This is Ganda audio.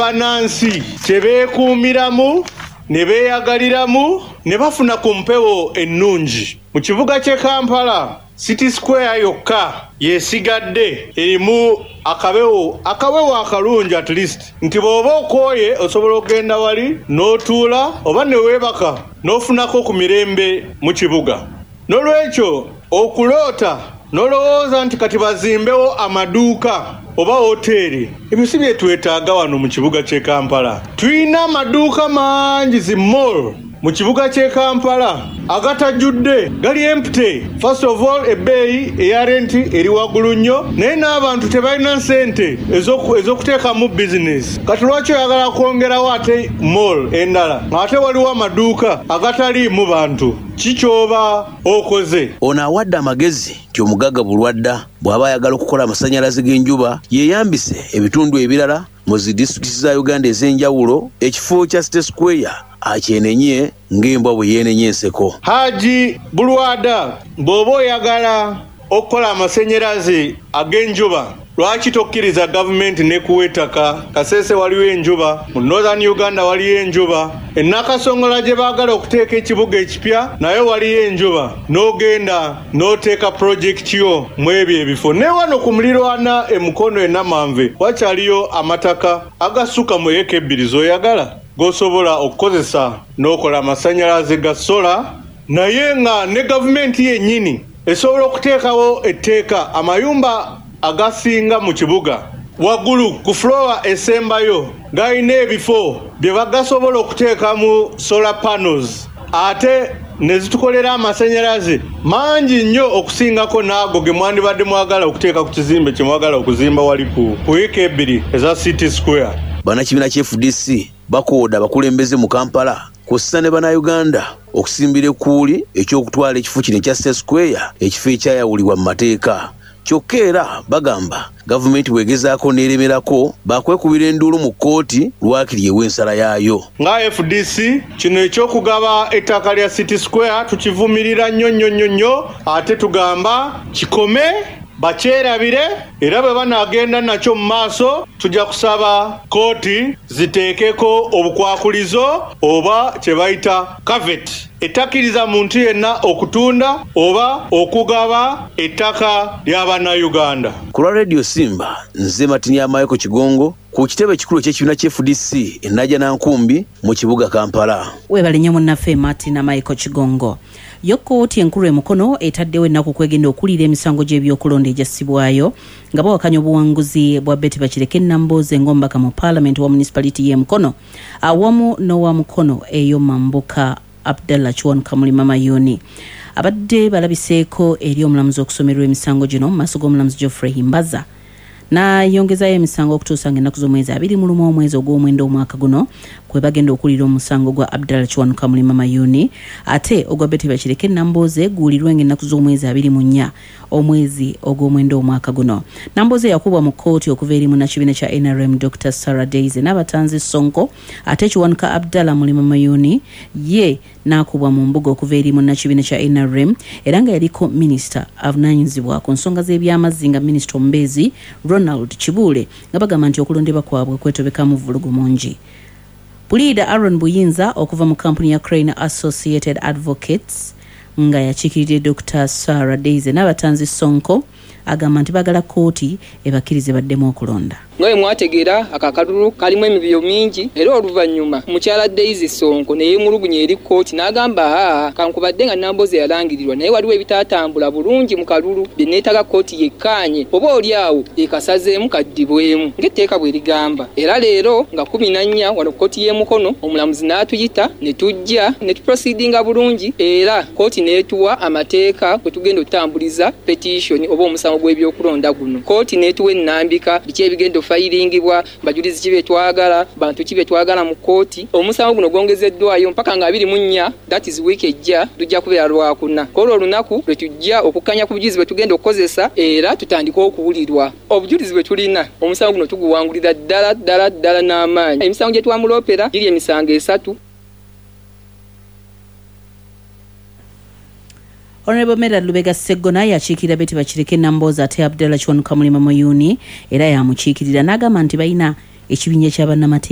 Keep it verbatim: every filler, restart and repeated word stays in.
Bannansi kye beekuumiramu ne beeyagaliramu ne bafuna ku mpewo ennungi. Mu kibuga ky'e Kampala, City Square yokka yesigadde erimu akabewo akawewo akalungi, at least nti bw'oba okooye osobola okugenda wali n'otuula oba ne weebaka n'ofunako ku mirembe mu kibuga. N'olwekyo okuloota n'olowooza nti kati bazimbewo amaduuka oba woteeri, ebyo si bye twetaaga wano mu kibuga ky'e Kampala. Tulina amaduuka mangi, zi mall mu kibuga ky'e Kampala agatajjudde, gali empty. First of all, ebbeeyi eya renti eri waggulu nnyo, naye n'abantu tebalina ssente ez'okuteekamu bizinesi. Kati lwaki oyagala kwongerawo ate mall endala ate waliwo amaduuka agataliimu bantu? Kikyoba okoze. Ono awadde amagezi nti omugagga Bulwadda bw'aba ayagala okukola amasannyalaze g'enjuba yeeyambise ebitundu ebirala mu zi disitulikiti za Uganda ez'enjawulo, ekifo kya City Square akyenenye ng'embwa bwe yeenenya enseko. Haji Bulwadda, bw'oba oyagala okukola amasannyalaze ag'enjuba, lwaki tokkiriza gavumenti n'ekuwa ettaka? Kasese waliwo enjuba, mu Northern Uganda waliyo enjuba, e Nakasongola gye baagala okuteeka ekibuga ekipya naye waliyo enjuba, n'ogenda n'oteeka pulojekiti yo mu ebyo ebifo. Ne wano ku mulirwana e Mukono e Namanve wakyaliyo amataka agasukka mu eka ebbiri z'oyagala g'osobola okukozesa n'okola amasannyalaze ga sola, naye nga ne gavumenti yennyini esobola okuteekawo etteeka amayumba agasinga mu kibuga waggulu ku floor esembayo galina ebifo bye bagasobola okuteekamu solar panels, ate ne zitukolera amasannyalaze mangi nnyo okusingako n'ago ge mwandibadde mwagala okuteeka ku kizimbe kye mwagala okuzimba wali ku wiiki ebbiri eza City Square. Bannakibiina kya F D C bakooda abakulembeze mu Kampala kw'ossa ne Bannayuganda okusimbira ekkuuli eky'okutwala ekifo kino ekya City Square, ekifo ekyayawulibwa mu mateeka. Kyokka era bagamba gavumenti bw'egezaako n'eremerako bakwekubira enduulu mu kkooti lwakiri ewa ensala yaayo. Nga F D C kino eky'okugaba ettaka lya City Square tukivumirira nnyo nnyo nnyo nnyo, ate tugamba kikome bakyerabire, era bwe banaagenda nakyo mu maaso tujja kusaba kkooti ziteekeko obukwakulizo oba kye bayita caveat ettakkiriza muntu yenna okutunda oba okugaba ettaka lya Bannayuganda. Ku lwa Radio Simba, nze Martin Amayeko Kigongo ku kitebe ekikulu eky'ekibiina kya F D C e Najjanankumbi mu kibuga Kampala. Weebale nnyo munnaffe Martin Amayeko Kigongo. Yo kkooti enkulu e Mukono etaddewo ennaku kwegenda okuwulira emisango gy'ebyokulonda egyassibwayo nga bawakanya obuwanguzi bwa Betty Bakireke Nambooze ng'omubaka mu paalamenti wa municipality y'e Mukono awamu n'owa Mukono ey'omambuka Abdallah Kiwanuka Mulima Mayuuni. Abadde balabiseeko eri omulamuzi okusomerwa emisango gino mu maaso g'omulamuzi Geoffrey Himbaza, n'ayongezayo emisango okutuusa ng'ennaku z'omwezi abiri mu lumu omwezi ogw'omwenda omwaka guno kwe bagenda okuwulira omusango gwa Abdallah Kiwanuka Mulima Mayuuni, ate ogwa Betty Bakireke Nambooze guwulirwe ng'ennaku z'omwezi abiri mu nnya omwezi ogw'omwenda omwaka guno. Nambooze yakubwa mu kkooti okuva eri munnakibiina kya N R M Doctor Sarah Daisy n'abatanzi Sonko, ate Kiwanuka Abdallah Mulima Mayuuni ye n'akubwa mu mbuga okuva eri munnakibiina kya N R M era nga yaliko minisita avunaanyizibwa ku nsonga z'ebyamazzi nga minisita omubeezi Ronald Kibuule, nga bagamba nti okulondebwa kwabwe kwetobekamu vvulugu mungi. Puliida Aaron Buyinza okuva mu kampuni ya Crane Associated Advocates nga yakiikiridde Doctor Sarah Daisy n'abatanzi Sonko agamba nti baagala kkooti ebakkirize baddemu okulonda. Nga bwe mwategeera akakalulu kalimu emivuyo mingi, era oluvannyuma mukyala Daisy Sonko ne yeemulugunya eri kkooti n'agamba haa kankubadde nga Nambooze yalangirirwa naye waliwo ebitaatambula bulungi mu kalulu bye neetaaga kkooti yekkaanye oba oli awo ekasazeemu kaddibwemu ng'etteeka bwe ligamba. Era leero nga kkumi na nnya wano kkooti y'e Mukono omulamuzi n'atuyita ne tujja ne tuproceedinga bulungi, era kkooti n'etuwa amateeka kwe tugenda okutambuliza petition oba omusango gw'ebyokulonda guno. Kkooti n'etuwa ennambika biki ebigenda okufayiringibwa, bajulizi ki be twagala, bantu ki be twagala mu kkooti. Omusango guno gwongezeddwayo mpaka nga abiri mu nnya, that is wiiki ejja, lujja kubeera lwakuna. Kw'olwo olunaku lwe tujja okukkanya ku bujulizi bwe tugenda okukozesa era tutandike okuwulirwa. Obujulizi bwe tulina, omusango guno tuguwangulira ddala ddala ddala n'amaanyi. Emisango gye twamuloopera giri emisango esatu. Honorable Medard Lubega Sseggona yakiikirira Betty Bakireke Nambooze ate Abdallah Kiwanuka Mulima Mayuuni era yamukiikirira n'agamba nti balina ekibinja kya bannamateeka.